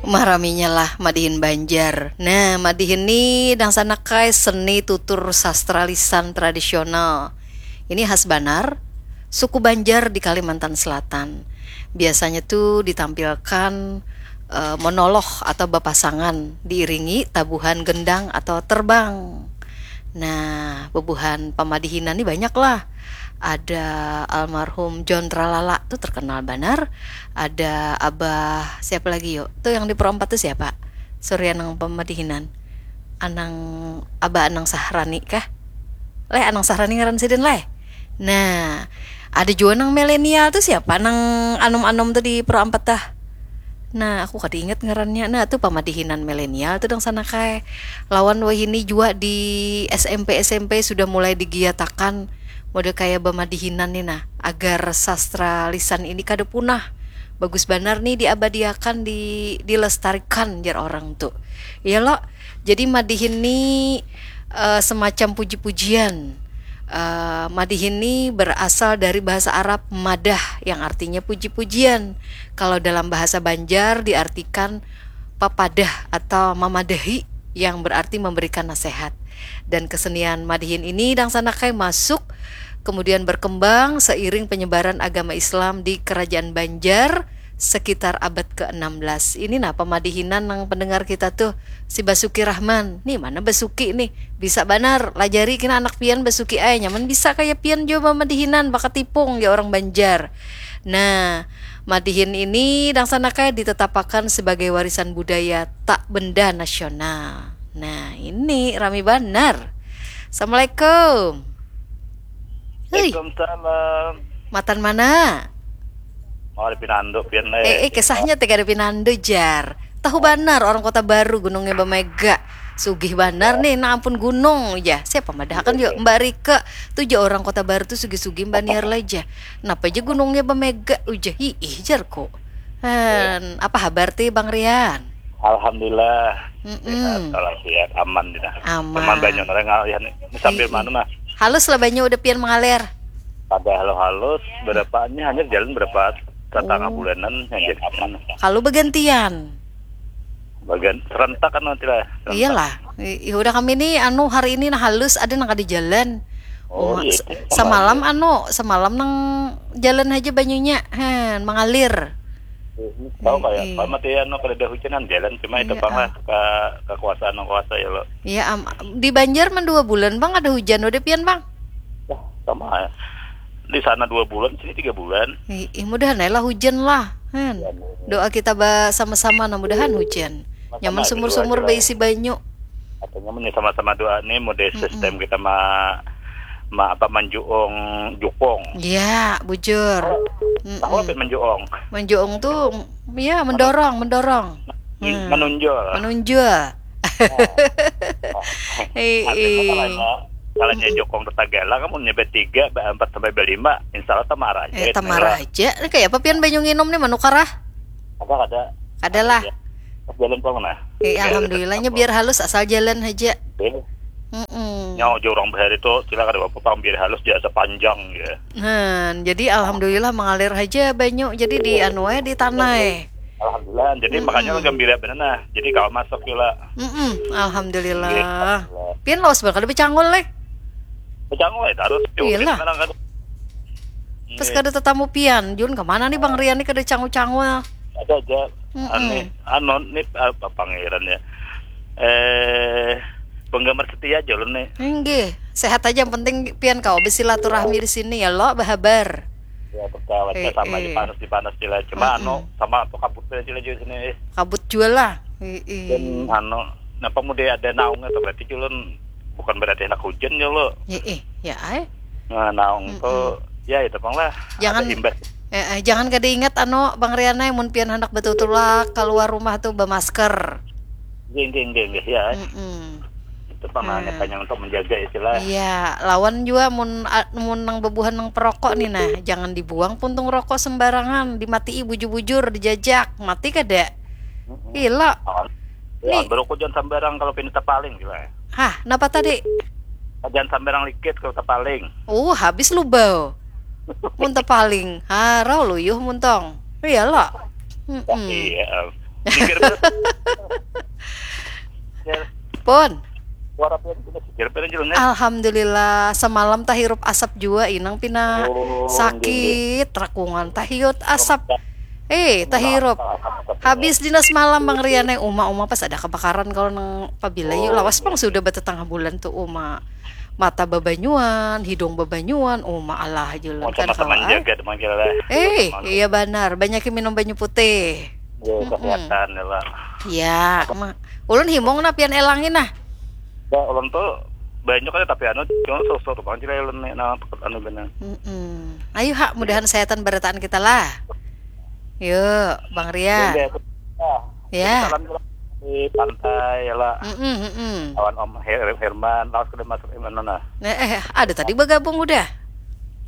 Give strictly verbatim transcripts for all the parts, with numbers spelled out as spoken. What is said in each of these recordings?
Maraminya lah madihin Banjar. Nah, madihin ni dangsanak ai seni tutur sastra lisan tradisional. Ini khas banar suku Banjar di Kalimantan Selatan. Biasanya tu ditampilkan eh, monolog atau bapasangan diiringi tabuhan gendang atau terbang. Nah, bubuhan pamadihinan ni banyak lah. Ada almarhum John Tralala tu terkenal banar. Ada Abah siapa lagi yuk? Tu yang di Pro empat tu siapa? Surya nang pamadihinan. Anang Abah Anang Sahrani kah? Leh, Anang Sahrani ngaran sidin leh. Nah, ada jua nang milenial tu siapa nang anom-anom tu di Pro empat tah. Nah, aku kada ingat ngarannya. Nah, tu pamadihinan milenial tu dangsanak ai. Lawan wahini jua di S M P S M P sudah mulai digiatakan model kaya bamadihinan ni nah, agar sastra lisan ini kada punah. Bagus banar nih diabadiakan, di dilestarikan jar orang tu. Iya lo. Jadi madihin ni eh, semacam puji-pujian. Eh, madihin ni berasal dari bahasa Arab madah yang artinya puji-pujian. Kalau dalam bahasa Banjar diartikan papadah atau mamadahi yang berarti memberikan nasihat. Dan kesenian madihin ini dangsanak ai masuk kemudian berkembang seiring penyebaran agama Islam di Kerajaan Banjar sekitar abad keenam belas. Ini nah pamadihinan nang pendengar kita tuh, si Basuki Rahman. Nih, mana Basuki nih? Bisa banar, lajari kena anak pian Basuki ai. Nyaman bisa kaya pian jua bamadihinan, bakatipung ya orang Banjar. Nah, madihin ini dangsanak ai ditetapakan sebagai warisan budaya tak benda nasional. Nah, ini rami banar. Assalamualaikum. Hui, Waalaikumsalam. Matan mana? Mau ada pinandu pian Eh, eh leh. kisahnya teh kada pinandu jar. Tahu banar orang Kota Baru gunungnya bamega. Sugih banar nih, nah ampun gunung ja. Siapa madahakan yuk Mbak Rika. Tu ja orang Kota Baru tu sugih-sugih Mbak Niar lah ja. Napa ja gunungnya bamega uja hiih jarku. Han, apa habar ti Bang Rian? Alhamdulillah. Mm-mm. Sehat, walafiat, aman dina. Aman. Cuman banyak orang ngalihan nih. Ini sambil Ii. mana nah? Halus lah banyu udah pian mengalir. Pada halus-halus, berapa ini hanya jalan berapa tetangga Oh. bulanan yang jadi aman. Kalau bergantian. Bagian serentak kan nanti lah. Serentak. Iyalah. I- i- udah kami ni anu hari ini nah halus ada nang kada jalan. Oh, Uma- iya, se- itu semalam sama anu semalam nang jalan aja banyunya han mengalir. Tahu kayak Iya. kalau mati anu kada ada hujanan jalan cuma itu Iya, bang lah ah. ke kekuasaan yang kuasa ya lo. Iya am, di Banjar man dua bulan bang ada hujan udah pian bang. Wah, sama ya. Di sana dua bulan, sini tiga bulan. Ih, ih, mudahan ae lah hujan lah. Hen. Doa kita ba sama-sama nah mudahan hujan. Nyaman Sama-sama, sumur-sumur doa aja lah. Baisi banyu. Katanya meni sama-sama doa nih mau di sistem kita ma ma apa manjuung jukung. Iya, bujur. Tahu apa manjuung? Manjuung tuh ya mendorong, mendorong. Menunjul. Menunjul. Ih, Artinya ih. Kalau kalau jukung tetagala kamu nyebut tiga, empat sampai berlima, insya Allah tamar aja. Eh, tamar aja. Ini kayak apa pian banyu nginum nih manukar ah? Apa ada? Adalah. Jalan pang nah. Eh, alhamdulillahnya biar halus asal jalan aja. Oke. Mm-mm. Nyawa aja orang bahari tuh sila kada apa-apa biar halus biasa panjang ya. Nah, jadi alhamdulillah mengalir aja banyu. Jadi di anu ae di tanah eh. Alhamdulillah. Jadi makanya orang gembira benar nah. Jadi kalau masuk gila. Mm-mm, alhamdulillah. Pian lawas bakal dipecangul leh. Pecangul itu harus Iyalah. Sekarang kan. Terus kada tetamu pian, Jun kemana nih Bang Rian nih kada cangul-cangul? Ada aja. Mm-mm. Anu, anu nih apa pangeran ya. Eh penggemar setia aja lo nih. Inggih, sehat aja yang penting pian kau bersilaturahmi di sini ya lo berhabar. Ya pertawanya Eh, sama eh. Dipanas dipanas sila. Cuma anu sama apa kabut aja sila juga sini. Eh. Kabut jual lah. Ih, ih. Dan anu, napa mau dia ada naungnya tuh berarti culun bukan berarti anak hujan ya lo. Ih, ih, ya ai. Nah, naung tuh ya itu pang lah. Jangan Ada imbas. Eh, eh, jangan kada ingat anu Bang Rian ai mun pian hendak betul-betul lah keluar rumah tuh bermasker. Geng geng geng ya. Mm-mm. Itu pang nah, hanya untuk menjaga istilah. Iya, lawan juga mun a- mun nang bebuhan nang perokok nih nah, jangan dibuang puntung rokok sembarangan, dimatii bujur-bujur, dijajak, mati kada? Gila. Ya, berokok jangan sembarang kalau pindah paling gila. Hah, napa tadi? Jangan sembarang likit kalau paling. Oh, habis lubau. Mun tepaling, harau luyuh muntong. Iya lo. Mm-mm. Iya. Geger bener. Ya, Pun. Suara pian pina geger bener, Jul, nih. Alhamdulillah, semalam tahirup asap jua, inang pina Oh, sakit, rakungan tahiut asap. Eh, tahirup. Habis dina semalam, Bang Rian, eh, uma-uma pas ada kebakaran kalau nang Pabilayu. Oh, Lawas pang iya. Sudah batetangah bulan tuh, uma. Mata babanyuan, hidung babanyuan, uma, Allah, Julun, Mau kan sama teman kawa, eh. Jaga teman kita lah. Eh, Teman. Iya banar, banyakin minum banyu putih. Ya, kesehatan ya lah. Ya, ma. Ulun himung nah, pian elangin nah. Ya, ulun tuh banyak aja, tapi anu cuma sosok tuh bang, cila ulun nih, nah, anu benar. Mm-mm. Ayo ha, mudahan sehatan barataan kita lah. Yuk, Bang Rian. Ya, ya. Ya. Salam juga di pantai ya lah. Mm-mm, mm-mm. Kawan Om Her Herman, lawas kada masuk Herman mana? Nah, eh, ada tadi bergabung udah.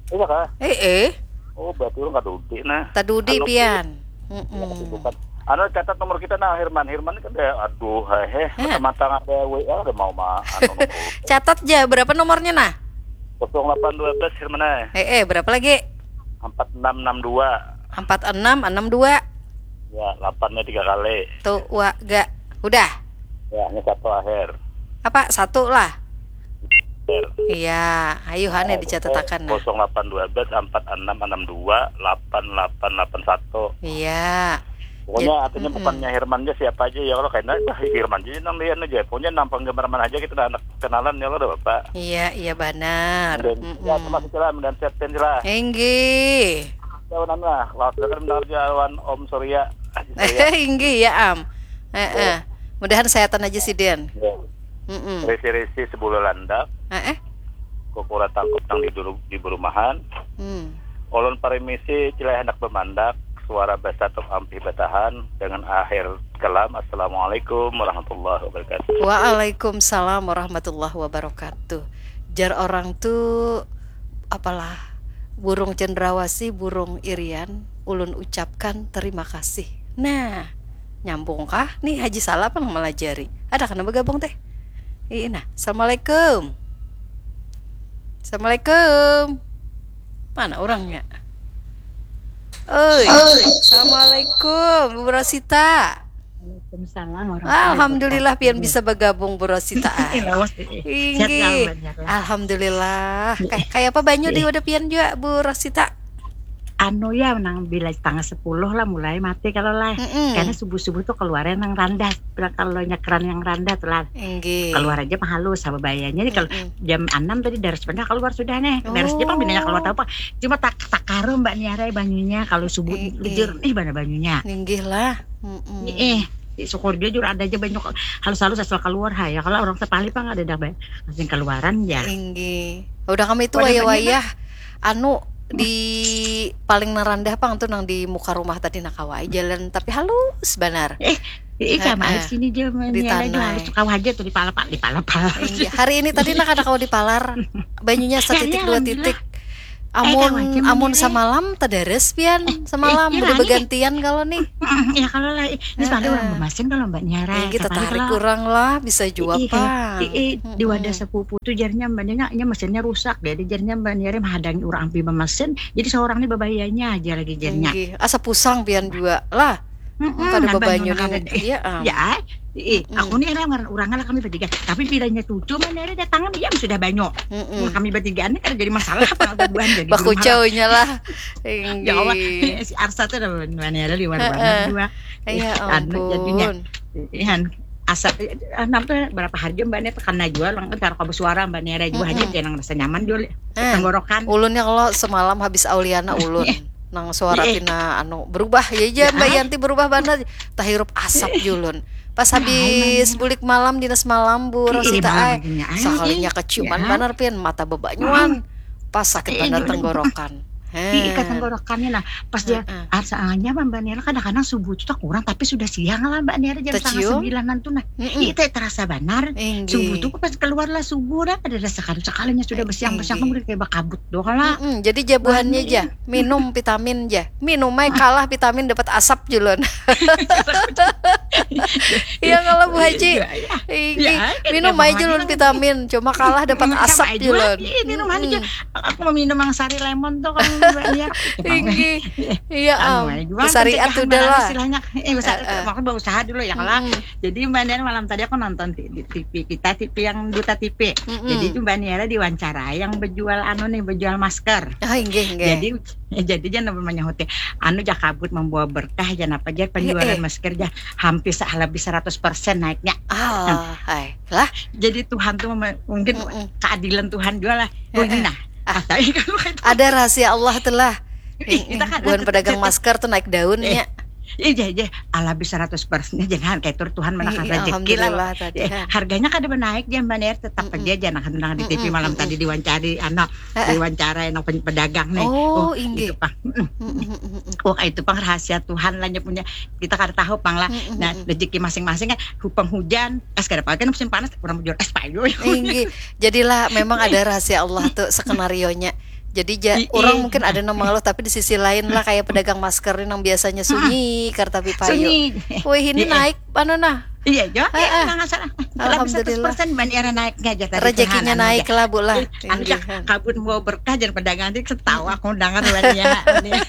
Iya kah? Eh, eh, Oh, berarti ulun kada udi nah. Tadudi Anu, pian. Ya, Mm-mm. kesibukan. Anu, catat nomor kita nah, Herman. Herman kan ada, aduh, hehe. Ya. Mata-mata ada W A, ada mau ma anu nomor. Catat aja, berapa nomornya nah? Kosong delapan dua belas Herman, eh. Eh, eh, berapa lagi? Empat enam enam dua. Empat enam enam dua. Ya, delapannya tiga kali. Tuh, wa, ga. Udah. Ya, ini satu akhir. Apa? Satu lah. Akhir. Iya, ayo hane Nah, dicatatakan nah. Kosong delapan dua belas empat enam enam dua delapan delapan delapan satu. Iya. Pokoknya Jad- artinya mm-mm. Bukannya Herman aja siapa aja ya, kalau kena ah, Herman aja nang lian aja. Pokoknya nang penggemar mana aja kita anak kenalan ya, kalau ada bapak. Iya, iya banar. Dan Mm-mm. Ya, terima kasih lah, mudahan sehat pian lah. Inggih. Kawan lah, kalau sudah kan mendengar aja lawan Om Surya, Haji Surya. Inggih ya, Am. Heeh. Mudahan sehatan aja sidin. Ya. Mm-mm. Risi-risi sebulu landak, Heeh. kukura tangkup nang di dulu di berumahan. Hmm. Ulun parimisi cilai handak bamandak, suara basatuk ampih batahan dengan akhir kalam, Assalamualaikum warahmatullahi wabarakatuh. Waalaikumsalam warahmatullahi wabarakatuh. Jar orang tu apalah, burung cendrawasih, burung irian, ulun ucapkan terima kasih. Nah, nyambung kah nih Haji Salah pang melajari. Ada kana bergabung teh. Ii nah. Assalamualaikum. Assalamualaikum. Mana orangnya? Oi. Assalamualaikum, Bu Rosita. Waalaikumsalam Alhamdulillah pian bisa bergabung, Bu Rosita. Lawas eh. Sehat Inggih. Kabarnya. Alhamdulillah. Kay- Kayak apa banyu di wadah pian juga, Bu Rosita? Anu ya, nang bila setengah sepuluh lah mulai mati kalau lah. Mm-mm. Karena subuh-subuh tuh keluarnya nang randah. Kalau nyekeran yang randah tuh lah. Inggih. Keluar aja mah halus sama bayanya. Jadi kalau Mm-mm. Jam enam tadi daras benar keluar sudah nih. Daras dia pang Oh. Bina keluar tahu apa. Cuma tak tak karu Mbak Niara banyunya kalau subuh Eh, eh. jernih mana banyunya. Inggih lah. Mm-mm. Eh, syukur dia juga ada aja banyak halus-halus asal keluar ha ya. Kalau orang sepali pang ada dah ba- masih keluaran ya. Inggih. Udah kami itu Wadah wayah-wayah anu di paling nerandah pang tuh nang di muka rumah tadi nak kawai jalan tapi halus banar. Eh, Ih, sama Heeh. Sini dia Di Niara juga tanah. Halus kau aja tuh di pala di pala pala. Inggih. Hari ini tadi nak ada kau dipalar banyunya setitik Iya, dua alhamdulillah. titik. Eh, Amun kawan, cuman amun ini. Semalam tadaras pian semalam iya, udah Rani. Bergantian kalau nih. Mm, ya kalau lah, eh, ini soalnya Heeh. Orang memasin kalau Mbak Niara. Ini kita Siapa lagi tarik kalau kurang lah bisa jua Ih, pang. ih, ih, di wadah Mm-mm. Sepupu tuh jarinya Mbak Niara, nya mesinnya rusak, jadi jarinya Mbak Niara menghadangi orang ambil memasin, jadi seorang nih bebayanya aja lagi jarinya. Inggih. Asa pusang pian juga lah. Mm-mm, Kada nambah bebanyu nyunang nih. ada deh. Iya, am. Ya, eh, Mm-mm. Aku nih orang orang lah kami bertiga, tapi bilanya cucu Mbak Niara datangan, iya sudah banyak. Mm-mm. Kami bertiga ini kan jadi masalah apa bubuhan jadi Bakucaunya lah. Ya Allah, Inggih. Si Arsa tuh ada Mbak Niara liwar Heeh. Banget juga. Ya Anu, jadinya. Ampun. Iya, asa eh, namanya berapa hari Mbak Niara tekan jual, kan cara kau bersuara Mbak Niara juga aja Mm-mm. jangan rasa nyaman jual Eh, tenggorokan. Ulunnya kalau semalam habis Auliana ulun nang suara Iya. Pina anu berubah ya aja Ya, Mbak ah. Yanti berubah banget tahirup asap julun pas habis bulik malam dinas malam Bu Iya, Rosita malam ai akhirnya, ai, sakalinya ih, keciuman ya. Banar pian mata bebanyuan pas sakit Iya, banar iya. Tenggorokan. Ih, ikat Heh. Tenggorokannya nah pas dia Heeh. Arsanya Mbak Niara kadang-kadang subuh itu tak kurang tapi sudah siang lah Mbak Niara jam setengah Tercium? Sembilanan tuh nah. Mm-mm. Ih, teh terasa banar. Inggih. Subuh tuh pas keluar lah subuh dah ada rasa sekali-sekalinya sudah Eh, bersiang-bersiang inggih. Kemudian kayak bakabut doang lah. Mm-mm, jadi jabuhannya Anu, aja, minum vitamin aja. Minum aja kalah vitamin dapat asap julun. Iya kalau Bu Haji. Iya, iya. Ini Ya, minum emang aja lagi ulun kan. vitamin, cuma kalah dapat Hmm, sama asap aja julun. Iya, minum aja. Mm-mm. Aku mau minum yang sari lemon tuh kalau misalnya. Tinggi. Iya Anu am. aja, Syariat pencegahan udah barang lah. Istilahnya, eh, usaha, Eh, eh. Aku berusaha dulu ya kalau. Mm-mm. Jadi Mbak Nian, malam tadi aku nonton di, di T V kita, T V yang Duta T V. Mm-mm. Jadi itu Mbak Niara diwawancarai yang berjual anu nih, berjual masker. Ah, inggih, inggih. Jadi, ya, jadi jangan menyahuti anu, ja kabut membawa berkah, jangan apa aja, penjualan Eh, eh. Masker ja hampir se- lebih seratus persen naiknya. Ah, hai. Lah, Jadi Tuhan tuh mem- mungkin mm-mm. Keadilan Tuhan juga lah. Oh, ini nah. Ah, Tapi kalau itu ada rahasia Allah tuh lah. Ih, kita kan Bukan tetap- pedagang tetap- masker tuh naik daun Eh, ya. Iya, iya, lebih seratus persen, jangan kayak tur Tuhan mana Iya, kan rezeki lah. alhamdulillah tadi, Eh, ha. Harganya kada menaik dia, Mbak Niar, tetap Mm-mm. aja jangan, kan di T V Mm-mm, malam mm-mm. Tadi diwawancari, anu, Heeh. Diwawancarai yang pen- pedagang nih. Oh, Oh, inggih. Itu pang. Mm-mm. Mm-mm, mm-mm. Oh, itu pang rahasia Tuhan lah, nya punya. Kita kada tahu pang lah. Mm-mm, Nah, mm-mm. Rezeki masing-masing kan, hupang hujan, pas kada pakai musim panas, orang bujur es payu. Inggih. Jadilah memang ada rahasia Allah tuh skenario-nya. Jadi ja, Ih, orang ih. Mungkin ada nang mengeluh, tapi di sisi lain lah, kayak pedagang masker nih, nang biasanya sunyi, kartapi payu. Sunyi. Wih, ini Iya. Naik, anu nah. Iya, ya. Heeh. Nang asal. Alhamdulillah. Seratus persen Mbak Niara naiknya aja tadi. Rezekinya Tuhan, anu naik ja. lah, Bu lah. Eh, anu ja, Inggih. Kabut mau berkah, jangan pedagang, nanti ketawa aku dengar Mbak Niara.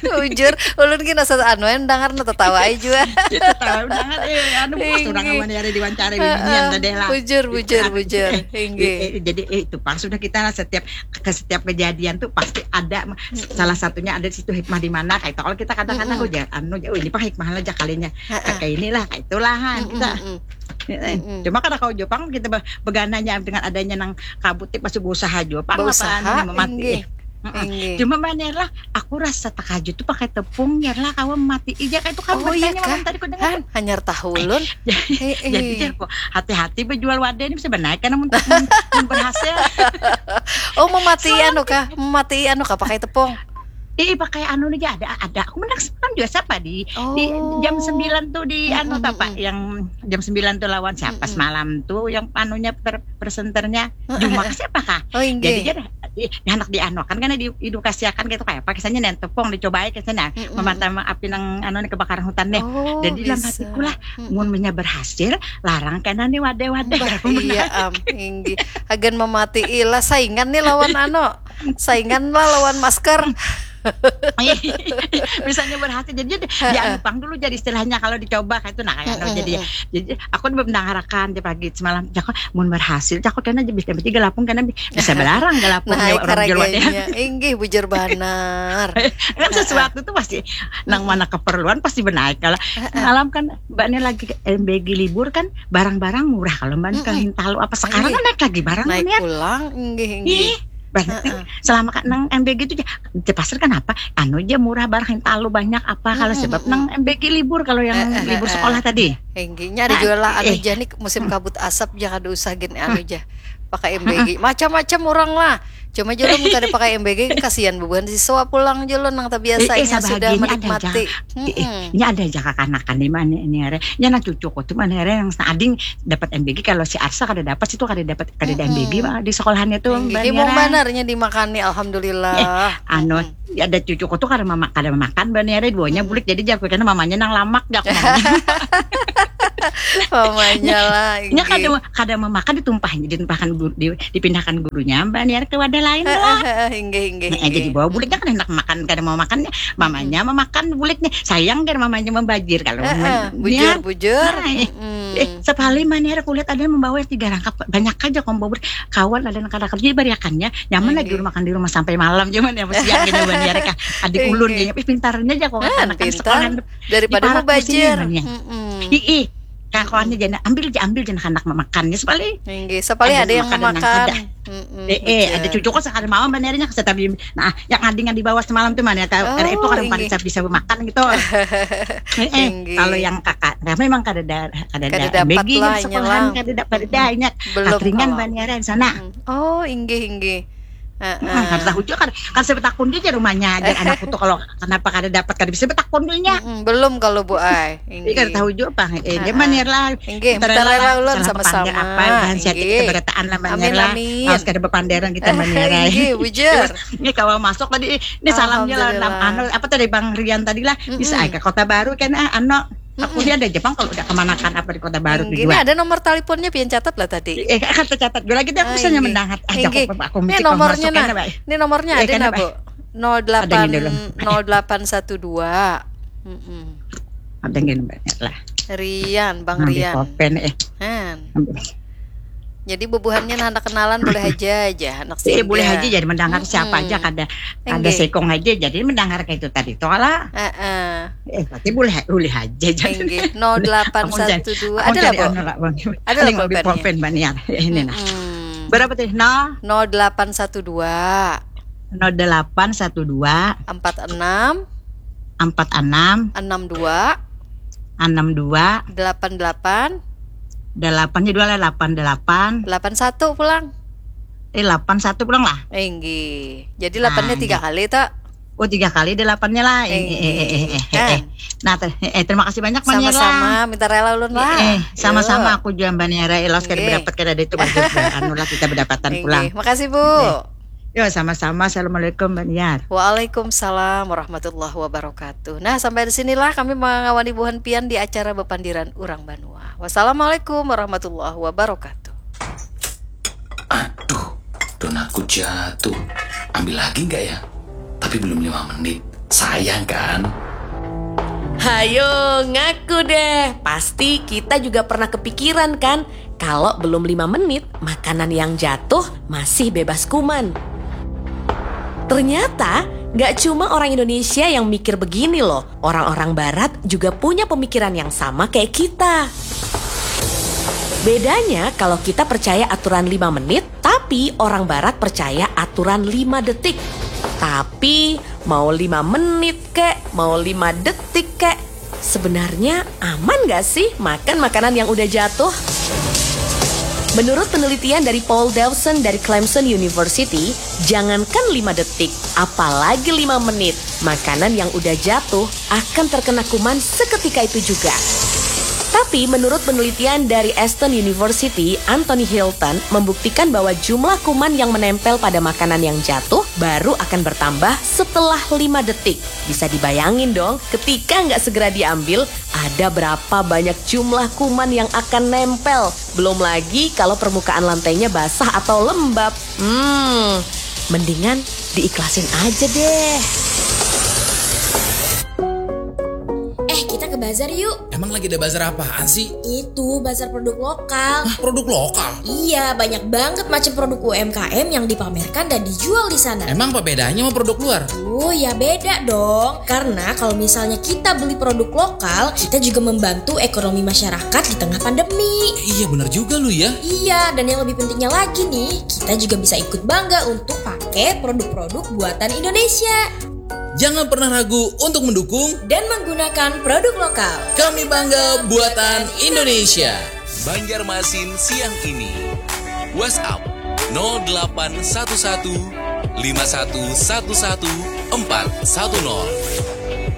Bujur, ulun gini asa anu, yang dengar nu tertawa aja juga. Kita tahu dengar, eh, anu, pas orang Inggih. Mbak Niara diwawancarai Heeh. binian tadi lah. Bujur, bujur, Anu, bujur. eh, Inggih. eh, jadi eh, itu pang sudah kita lah, setiap ke setiap kejadian tuh pasti ada, salah satunya ada di situ hikmah di mana kayak itu. Kalau kita kadang-kadang Mm-mm. Ujar anu, oh, ini pang hikmah aja kalinya. Heeh. Kayak inilah, kayak itulah, ha, Mm-mm, kita. mm-mm. Eh, Mm-mm. Cuma kada kau Jepang kita be- begananya dengan adanya nang kabut, pas berusaha Jepang apa Berusaha, anu, memati. Inggih. Heeh. Inggih. Cuma Mbak Niar lah, aku rasa takajut tuh pakai tepung, Niar lah, kawan mati ija kayak itu kan. Oh iya Bertanya kah? Malam tadi ku dengar. Han, hanyar tahu ulun. Jadi Heeh. Jar, kok hati-hati bejual wadah ini bisa benaik karena mun, mun, mun berhasil. Oh, memati anu kah? Memati anu kah pakai tepung? Ih, pakai anu nih, ada, ada. Aku menang semalam juga siapa di di Oh. Jam sembilan tuh di anu Mm-mm, apa, mm-mm. Yang jam sembilan tuh lawan siapa Mm-mm. Semalam tuh yang anunya per- presenternya Heeh, Jumak heeh. Siapa kah? Oh, Jadi inggih. Jar, ih, anak dianuakan karena di edukasiakan gitu, kayak apa kisahnya, nih tepung dicobai kisahnya, Mm-mm. Memadam api nang anu nih, kebakaran hutan deh. Oh, Jadi dalam bisa. hatiku lah, Mm-mm. Mun punya berhasil, larang kena nih wadah-wadah. Bah, iya am, inggih. Hagan memati ilah, saingan nih lawan anu. Saingan lah lawan masker. Misalnya berhasil, jadi dia Heeh. Dianupang dulu jadi istilahnya kalau dicoba kayak itu, nah kayak Mm-mm, jadi mm-mm. Jadi aku udah mendengarkan dia pagi semalam, Jako, mun berhasil Jako kena aja bisa tiga lapung, kena bi- bisa belarang galapung Naik orang jual wadah. Harganya. Inggih, bujur banar. Kan sesuatu tuh pasti nang mana keperluan pasti benaik kalau malam kan Mbak Niar lagi ke M B G libur kan, barang-barang murah kalau Mbak Niar ke Mm-mm. Hintalu apa sekarang Inggih. Kan naik lagi barang Naik Niar. Pulang, inggih, inggih. Ih, banyak nih. Selama kan nang M B G itu ja, di pasar kan apa? Anu ja murah, barang Hintalu banyak apa kalau Mm-mm, sebab mm-mm. Nang M B G libur kalau yang Eh, eh, libur eh, sekolah eh. Tadi. Inggihnya ada juga lah anu, eh. Jani musim kabut asap ja kada usah gini anu ja. Pakai M B G. Macam-macam orang lah. Cuma jolo mun kada pakai M B G, kasihan bubuhan siswa pulang jolo nang tabiasa inya sudah menikmati. Ini ada aja kakanakan di mana ini are. Nya nang cucuku tuh mana are yang ading dapat M B G, kalau si Arsa kada dapat, situ kada dapat, kada ada M B G di sekolahannya tuh. Himung banar nya dimakani, alhamdulillah. Anu, ada cucuku tuh kada mama, kada memakan banar are, duanya bulik, jadi jaku kena mamanya nang lamak jaku. Mamanya lah. Nya kada kada memakan, ditumpah, ditumpahkan guru, di, dipindahkan gurunya Mbak Niar ke wadah lain lah. Heeh, inggih, inggih. Nah, jadi bawa buliknya kan hendak makan, kada mau makan, mamanya memakan buliknya. Sayang kan mamanya membajir kalau bujur, bujur. Eh, sapali Mbak Niar kulihat ada membawa tiga rangkap, banyak aja kau bawa bulik. Kawan ada nang kada kerja, bariakannya nyaman lagi makan di rumah sampai malam, cuman ya siang gini Mbak Niar kah. Adik ulun gini, pintarnya aja kok anak-anak sekolah. Daripada mubajir. Ii, kakuannya jana ambil ja, ambil jana kanak mamakannya, sapalih. Inggih, sapalih ada yang mamakan. Eh, ada cucuku sakali mawa banar nya, satabi nah yang adingan di bawah semalam tuh mana, ada itu kada bisa bisa makan gitu. Eh, kalau yang kakak, nah, memang kada ada, kada ada begi lah, sekolahan kada ada, kada ada, ingat. Belum ringan banar di sana. Oh, inggih, inggih. Heeh. Kada tahu jua, kada, kada saya betakun jua jar umanya, jar anakku tuh kalau kenapa kada dapat, kada bisa betakun jua nya. Belum kalau Bu ai. Inggih. Kada tahu jua pang. Eh, dia manir lah. Inggih, mutarela lah ulun sama-sama. Apa dan sihat kita berataan lah manir lah. Amin, amin. Harus kada bepanderan kita manir. Inggih, bujur. Ini kawa masuk tadi, ini salamnya lah, anu, apa tadi Bang Rian tadi lah, bisa ai ka Kota Baru kan, ah, anu. Aku lihat ada Jepang kalau udah kemanakan apa di Kota Baru. Ini ada nomor teleponnya, pian catat lah tadi. Eh, kan tercatat dulu lagi, aku misalnya mendengar. Ah, aku mesti nomornya, nah. Ini nomornya ada, nah, Bu. Nol delapan, nol delapan satu dua. Ada yang banyak lah. Rian, Bang Rian. Ambil pulpen, eh. Jadi bubuhannya, nah, anak kenalan boleh aja, aja anak singgah. Iya, boleh aja jadi mendengar siapa aja, kada, kada sekong aja jadi mendengar kayak itu tadi toh lah. Eh, berarti boleh, boleh aja jadi. Nol delapan satu dua. Ada lah, Bu. Ada lah pulpen, Mbak Niar. Ini nah. Berapa tadi? Nol delapan satu dua. Nol delapan satu dua. Empat enam. Empat enam. Enam dua. Enam dua. Delapan delapan. Delapan, jadi dua lah, delapan delapan. Delapan satu pulang. Eh, delapan satu pulang lah. Inggih. Jadi delapannya tiga kali, tak? Oh, tiga kali delapannya lah. Eh, eh, eh, eh, eh, eh. Nah, ter-, eh, terima kasih banyak, Mbak Niara. Sama-sama, minta rela ulun lah. Eh, eh, sama-sama, aku juga, Mbak Niara, eh, lawas kada berdapat, kada ada itu, anu lah, kita berdapatan pulang. Makasih, Bu. Eh. Yo, sama-sama. Assalamualaikum, Mbak Niar. Waalaikumsalam warahmatullahi wabarakatuh. Nah, sampai di sinilah kami mangawani buhan pian di acara Bepandiran Urang Banua. Wassalamualaikum warahmatullahi wabarakatuh. Aduh, donaku jatuh. Ambil lagi nggak ya? Tapi belum lima menit. Sayang kan? Hayo, ngaku deh. Pasti kita juga pernah kepikiran kan, kalau belum lima menit, makanan yang jatuh masih bebas kuman. Ternyata, nggak cuma orang Indonesia yang mikir begini loh. Orang-orang barat juga punya pemikiran yang sama kayak kita. Bedanya kalau kita percaya aturan lima menit, tapi orang barat percaya aturan lima detik. Tapi mau lima menit kek, mau lima detik kek, sebenarnya aman gak sih makan makanan yang udah jatuh? Menurut penelitian dari Paul Dawson dari Clemson University, jangankan lima detik, apalagi lima menit, makanan yang udah jatuh akan terkena kuman seketika itu juga. Tapi menurut penelitian dari Aston University, Anthony Hilton membuktikan bahwa jumlah kuman yang menempel pada makanan yang jatuh baru akan bertambah setelah lima detik. Bisa dibayangin dong, ketika nggak segera diambil, ada berapa banyak jumlah kuman yang akan nempel. Belum lagi kalau permukaan lantainya basah atau lembab. Hmm, mendingan diikhlasin aja deh. Eh, kita ke bazar yuk. Emang lagi ada bazar apaan sih? Itu, bazar produk lokal. Hah, produk lokal? Iya, banyak banget macam produk U M K M yang dipamerkan dan dijual di sana. Emang apa bedanya sama produk luar? Oh, ya beda dong. Karena kalau misalnya kita beli produk lokal, kita juga membantu ekonomi masyarakat di tengah pandemi. Eh, iya, benar juga lu ya. Iya, dan yang lebih pentingnya lagi nih, kita juga bisa ikut bangga untuk pakai produk-produk buatan Indonesia. Jangan pernah ragu untuk mendukung dan menggunakan produk lokal. Kami bangga buatan Indonesia. Banjarmasin siang ini. WhatsApp nol delapan satu satu, lima satu satu satu, empat satu nol.